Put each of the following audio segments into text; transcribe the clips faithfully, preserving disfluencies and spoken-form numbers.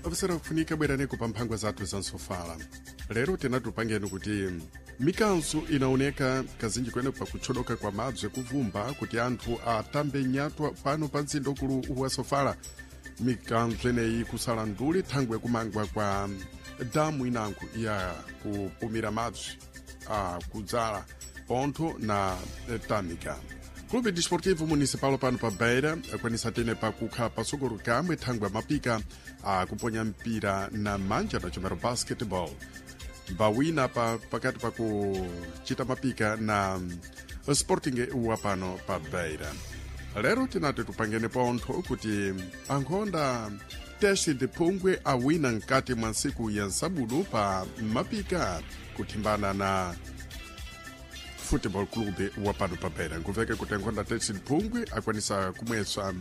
Apesera kufunika bweraneko pa mphangwa zathu za nsofala. Lero tinatupangeni kuti mikanso inaoneka kazinji kwene pakuchodoka kwa madzi ekuvumba kuti anthu atambe nyatwa pano pa mzinda ukulu wa sofala. Mikanso ineyi kusala nduli thangwe kumangwa kwa damu inango ya kupumira madzi a kudzala pontho na tamika. Clube Desportivo Municipal pano pa Beira akwanisa tene pakukhala pasogolo kamwe thangwe mapika akuponya mpira na manja na chomero basketball bawina pa, pakati pakuchita mapika na Sporting wa pano pa Beira. Lero tinati tupangene pontho kuti ankhonda teste de phungwe awina mkati mwa ntsiku ya nsabudu pa mapika kuthimbana na Football Club wa pano pa Beira. Nkuveke kuti ankhonda teste de phungwe akwanisa kumwesa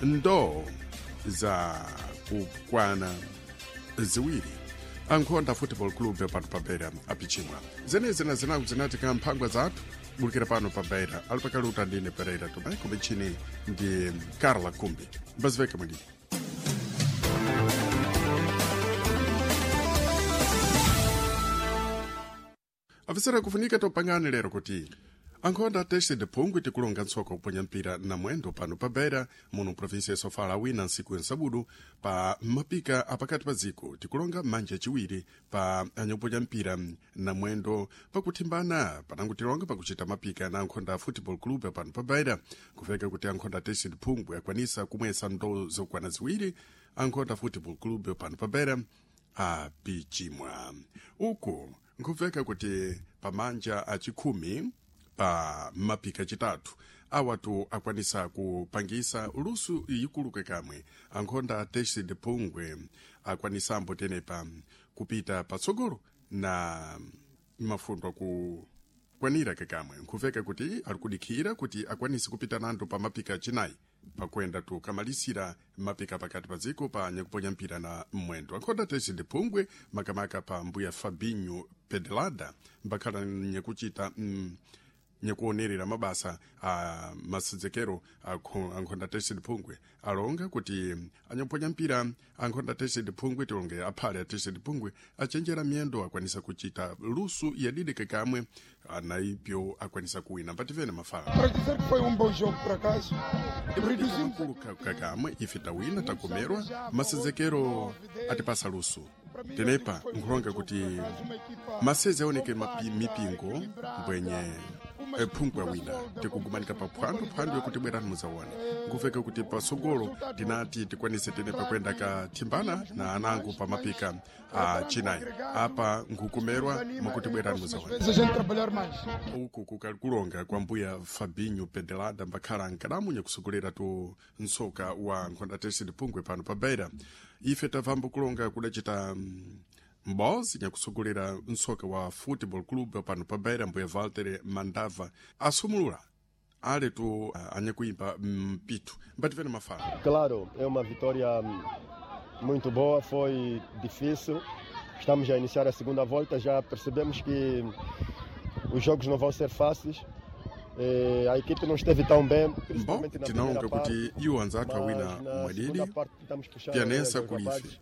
ndoo za kukwana ziwiri. Ankhonda Football Club pano pa Beira apichimwa zenezi na zinaku zinatika mphangwa zathu bulikira pano pa Beira. Ali pakali utandine Pereira Tomé kumichini ndi Carla Kumbi mbaziveke mwendini. Afisera kufunika topangani lero kuti ankhonda teste de phungwe tikulonga ntsoko kuponya mpira na mwendo pano pa Beira muno provinsia ya Sofala wina ntsiku yansabudu pa mapika apakati pa dziko tikulonga manja achiwiri pa anyakuponya mpira na mwendo pakuthimbana panango tilonga pakuchita mapika na ankhonda Football Club pano pa Beira. Kuveka kuti ankhonda teste de phungwe akwanisa kumwesa ndoo zokwana ziwiri ankhonda Football Club pano pa Beira apichimwa. Uku nkuveka kuti pamanja achikhumi pa mapika chitatu awatu akwanisa kupangisa lusu yikuluke kamwe ankhonda teste de phungwe akwanisambo tenepa kupita patsogolo na mafundo akukwanira kakamwe. Nkuveka kuti ali kudikhira kuti akwanise kupita nando pa mapika achinayi pakwenda tukamalisira mapika pakati pa dziko pa nyakuponya mpira na mwendo. Ankhonda teste de phungwe makamaka pa mbuya Fabinho Pedelada mbakhala nyakuchita mm, nyakuonerera mabasa a masedzekero ankhonda teste de phungwe alonga kuti anyakuponya mpira ankhonda teste de phungwe tilonge aphale a teste de phungwe achenjera miyendo akwanisa kuchita lusu yadidike kamwe anaipyo akwanisa kuwina mbativene mafala. Para dizer que foi um bom jogo, por acaso. Reduzimos Kuluka kakamwe ife tawina takomerwa masedzekero atipasa lusu tenepa nkhulonga kuti maseze aoneke mapi, mipingo mbwenye phungwe wina tikugumanika pa phwando phwando yokuti bwerani muzaone. Nkuveka kuti pasogolo tinati tikwanise tenepa kwenda kathimbana na anango pa mapika a chinayi apa nkukumerwa mwakuti bwerani muzaone. vezes a gente trabalhar mais. Uku kukalkulonga kwa mbuya Fabinho Pedelada mbakhala nkadamu nyakusogolera tu ntsoka wa nkhonda teste de phungwe pano pa Beira. Ife tabvambo kulonga kudacita mm, mbozi nyakusogolera ntsoka wa Football Club pano pa Beira mbuya Walter Mandava asumulula ale tu uh, anyakuimba mpitu mbativene mafala. Claro, é uma vitória hum, muito boa, foi difícil. Estamos a iniciar a segunda volta, já percebemos que os jogos não vão ser fáceis. Eh, A equipe não esteve tão bem, Bom, principalmente na tinalonga primeira parte. kuti iwo anzathu awina Mas na mwadidi segunda parte tentamos puxar pianesa os kulife rapazes.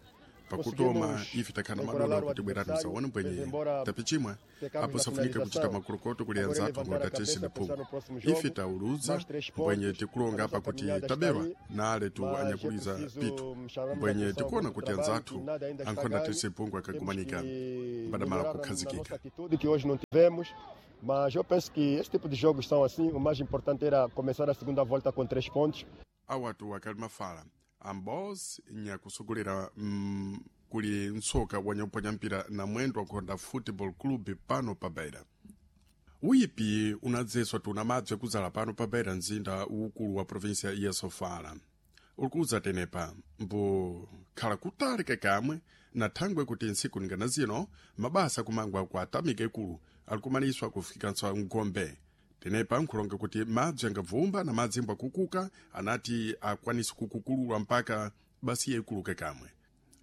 pakutoma Conseguimos ife takhana encoralar madola o kuti bwerani adversário, muzaone mas mbwenye embora tapichimwa pecamos apo na safunika kuchita finalização, makulukoto kuli agora anzathu levantar a nkhonda teste cabeça, de pensar phungwe no próximo jogo, ife tauluza mais três mbwenye pontos, tikulonga a apa nossa kuti caminhada está taberwa aí, na ale tu mas é anyakuliza preciso pitu chamar mbwenye atenção tikuona ao kuti trabalho, anzathu que nada ainda está ankhonda ganho. teste de phungwe Temos akagumanika que mbadamala melhorar na, na nossa kukhazikika. atitude, que hoje não tivemos. Mas eu penso que esse tipo de jogos são assim. O mais importante era começar a segunda volta com três pontos. Awatu akali mafala ambos nyakusogolera mm, kuli ntsoka wanyakuponya mpira na mwendo wakuhonda Football Club pano pa Beira. Uyipi unadzeswa tuna madzi akuzala pano pa Beira mzinda ukulu wa provinsia ya Sofala ulikuza tenepa mbu khala kutali kakamwe na thangwe kuti ntsiku ningana zino mabasa kumangwa kwa atamika ikulu alikumaniswa kufikanso mgombe. Tenepa nkhulonga kuti madzi angabvumba na madzi mbwakukuka anati akwanise kukukululwa mpaka basiya ikuluke kamwe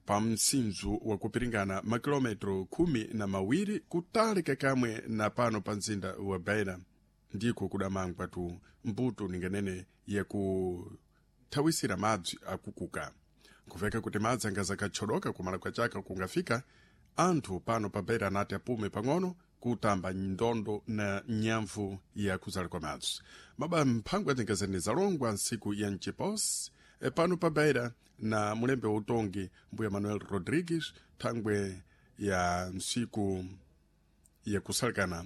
pa msinzu wakupiringana makilometro khumi na mawiri kutali kakamwe na pano pa mzinda wa Beira ndiko kudamangwa tu mbuto ninganene yakuthawisira madzi akukuka. Nkuveka kuti madzi angazakachodoka kumala kwa chaka kungafika anthu pano pa Beira anati apume pang'ono kutamba ndondo na nyamvu ya kuzala kwa madzi. Maba mphango azingazene zalongwa nsiku ya mchiposi e pano pa Beira na mulembe wa utongi mbuya Manuel Rodrigues thangwe ya nsiku ya kusalekana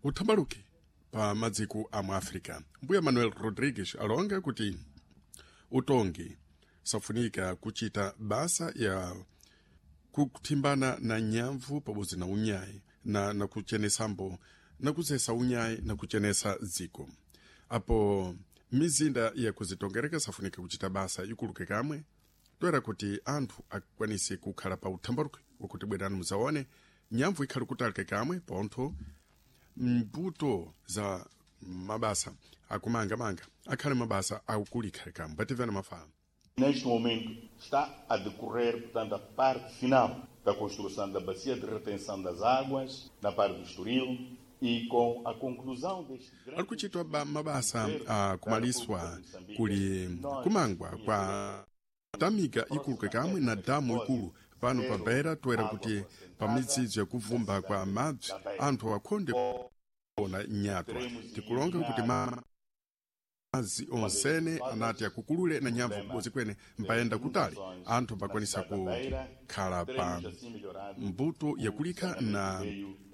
uthambaluke pa madziko a mu Africa. Mbuya Manuel Rodrigues alonga kuti utongi safunika kuchita basa ya kuthimbana na nyamvu pabodzi na unyayi na, na kuchenesambo na kuzesa unyayi na kuchenesa dziko. Apo mizinda ya kuzitongereka safunika kuchita basa ikuluke kamwe toera kuti anthu akwanise kukhala pa uthambaluke wakuti bwerani muzaone nyamvu ikhale kutalike kamwe pontho mbuto za mabasa akumangamanga akhale mabasa akulikhale kamwe bativana mafala. Neste momento está a decorrer, portanto, a parte final da construção da bacia de retenção das águas na parte do Estoril e com a conclusão deste grande Ali kuchitwa ba mabasa akumaliswa kuli kumangwa kwa tamiga ikuluke kamwe na damu ikulu pano pa Beira toera kuti pa midzidzo yakuvumba kwa madzi anthu akhonde kuona nyatwa. Tikulonga kuti madzi onsene anati akukulule na nyamvu kubodzi kwene mpayenda kutali anthu mbakwanisa kukhala pa mbuto yakulikha na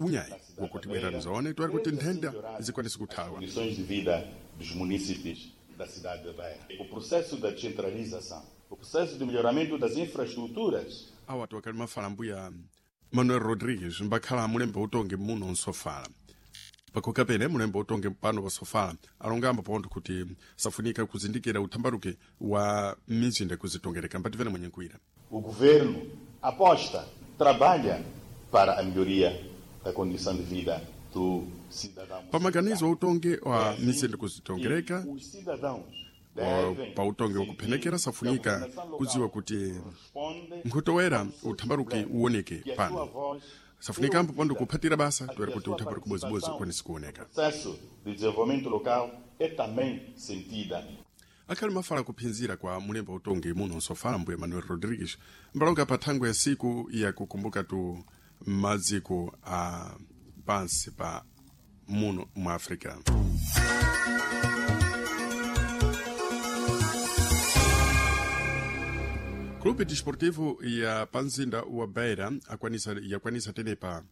unyayi wakuti bwera mzaone toera kuti nthenda zikwanise kuthawa. Condições de vida dos munícipes da cidade de Beira. O processo da descentralização, o processo de melhoramento das infraestruturas. Awa tiwakali mafala mbuya Manuel Rodrigues mbakhala mulembe utongi muno nsofala. Pakhoka pene mulembe utongi pano pasofala alongamba pontho kuti safunika kuzindikira uthambaluke wa mizinda kuzitongereka mpativene mwenye nkuira. O governo aposta, trabalha para a melhoria da condição de vida do cidadão. Pamaganizo utongi wa mizinda kuzitongereka Os cidadãos wa- pa utongi wakuphenekera safunika kudziwa kuti nkhutowera uthambaluke uwoneke pano. Safunika ambo pondo kuphatira basa toera kuti uthambaluke bodzibodzi ukwanise kuoneka. Processo de desenvolvimento local é também sentida. Akhali mafala kuphinzira kwa mulembo utongi muno nsofala mbuya Manuel Rodrigues mbalonga pa thangwe ya siku yakukumbuka tu madziko a pansi pa muno mu Africa. Clube Desportivo ya panzinda wa Beira akwanisa, yakwanisa tenepa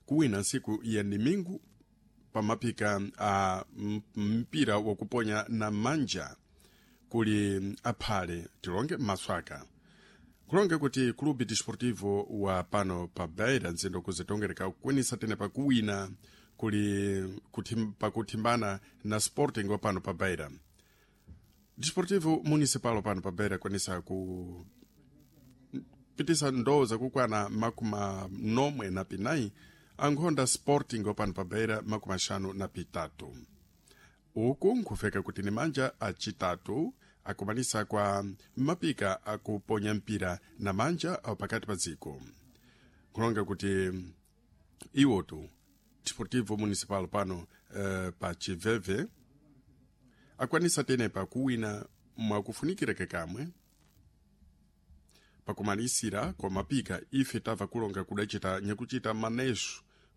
kuwina nsiku ya nimingu pamapika a m- mpira wakuponya na manja kuli aphale tilonge maswaka. Kulonge kuti Clube Desportivo wa pano pa Beira nzindo kuzitongereka kukwanisa tenepa kuwina kuli kuthim, pakuthimbana na Sporting wa pano pa Beira. Desportivo Municipal pano pa Beira kwanisa ku pitisa ndoo zakukwana makumi nomwe na pinayi ankhonda Sporting wapano pa Beira makumi axanu na pitatu. Uku nkhufeka kuti ni manja acitatu akumanisa kwa mapika akuponya mpira na manja awo pakati pa dziko. Nkulonga kuti iwotu Desportivo Municipal pano eh, pa Chiveve akwanisa tenepa kuwina mwakufunikira kekamwe pakumalisira kwa mapika ife tamva kulonga kudacita nyakucita manejo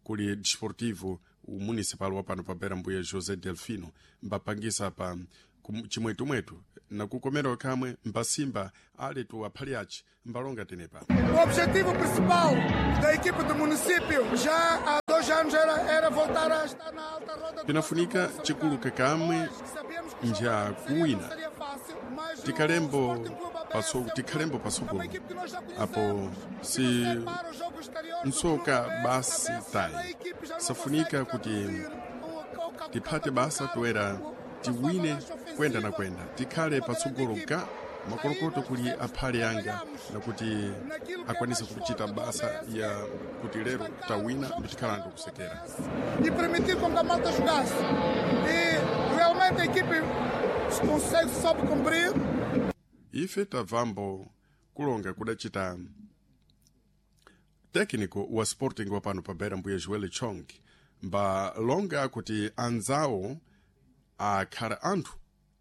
kuli Desportivo Municipal wa pano pa Beira mbuya José Delfino mbapangisa pa kum- chimwetumwetu na kukomera kamwe mbasimba ali tu aphali aci mbalonga tenepa. O objetivo principal da equipe do município já há dois anos era, era voltar a estar na alta roda do Pinafunika chikuluke kamwe Sabíamos que nja seria- kuwina. seria fácil, mas o Tikalembo Sporting Clube A B S paso- é um tikhalembo clube- pasogolo. é uma equipe que nós já Apo conhecemos. se você para o jogo exterior do nsoka Clube A B S, basi A B S, tayi. a equipe já não Safunika consegue kuti traduzir o- o- o- tiphate basa toera tiwine kwenda na kwenda tikhale patsogolo ka makolokoto kuli aphale anga nakuti akwanise kuchita basa ya kuti lero tawina nditikhala anthu kusekera. E permitir com que a malta jogasse. E realmente a equipe consegue, soube cumprir. Ife tabvambo kulonga kudacita técnico wa Sporting wa pano pa Beira mbuya Joel Chong mbalonga kuti anzawo akhala anthu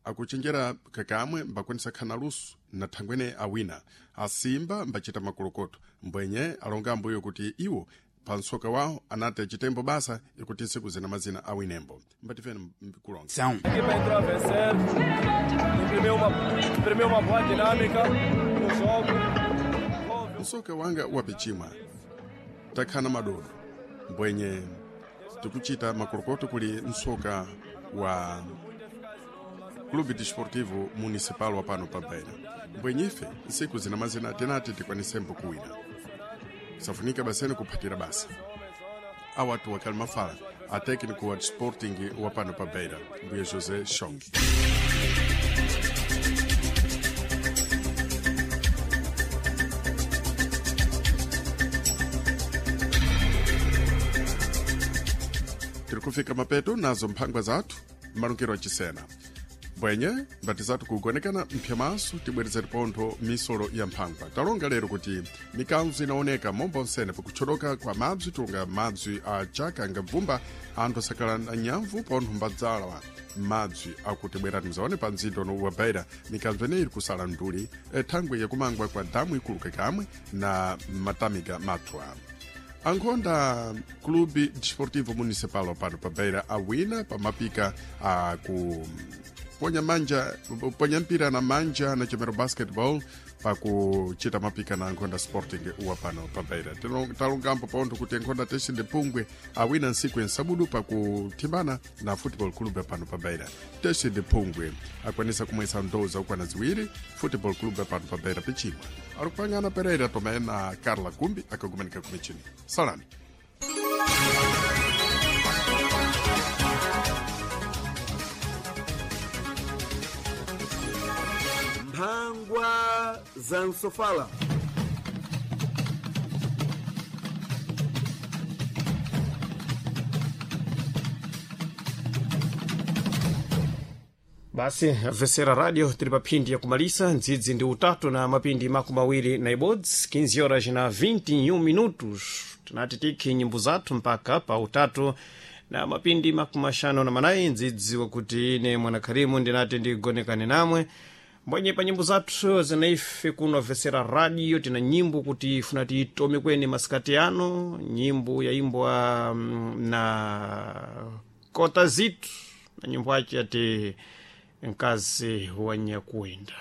akuchenjera kakamwe mbakwanisa khana luso Na thangwene awina asimba mbachita makolokoto mbwenye alonga ambuyo kuti iwo pa msoka wawo anati achitembo basa ikuti ntsiku zina mazina awinembo. Mbatifeni kulonga. São. A equipa entrou a vencer, imprimiu uma, imprimiu uma boa dinâmica no jogo. Houve Msoka wanga wapichimwa takhana madodo mbwenye tikuchita makolokoto kuli msoka wa Clube Desportivo Municipal wa pano pa Beira. Mbwenye ife ntsiku zina mazina tinati tikwanisembo kuwina, safunika basene kuphatira basa. Awatu wakali mafala a técnico wa Sporting wa pano pa Beira, mbuye José Chong. Tiri kufika mapeto nazo mphangwa zathu malungiro achisena mbwenye mbati zathu kugonekana mphyamaso tibwerezere pontho misolo ya mphangwa. Talonga lero kuti mikanzo inaoneka momba onsene pakutcholoka kwa mabzi, tulonga mabzi a chaka ngabvumba anthu asakhala na nyamvu pontho mbadzala mabzi akuti bwerani mzaone pa mzinda uno wa Beira. Mikanzo ineyi iri kusala nduli thangwe yakumangwa kwa damu ikuluka kamwe na matamika mathwa. Ankhonda Clube Desportivo Municipal pano pa Beira awina pamapika a ku ponya manja ponya mpira na manja na chemero basketball pakuchita mapika na ankhonda Sporting wa pano pa Beira. Tilo- talongambo pontho kuti ankhonda Teshende Pungwe awina ntsiku yensabudu pakuthimbana na Football Club pano pa Beira. Teshende Pungwe akwanisa kumwesa ndowu zakukwana ziwiri Football Club pano pa Beira pichimwa. Ari kupangana Pereira Tomé na Carla Kumbi akagumanika kumichini. Salani. Mphangwa za msofala. Basi vesera radio tili pa phindi ya kumalisa ndzidzi ndi utatu na mapindi makumi awiri na ibodzi, quinze horas na vinte e um minutos. Tinati tikhi nyimbo zathu mpaka pa utatu na mapindi makumi axanu na manayi, ndzidzi wakuti ine mwanakharimu ndinati ndigonekane namwe mbwenye pa nyimbo zathu zinaife kuno vesera radio. Tina nyimbo kuti ifuna titome kweni masikati ano, nyimbo yaimbwa mm, na kota zitu na nyimbo ache ati mkazi wa nyakuenda.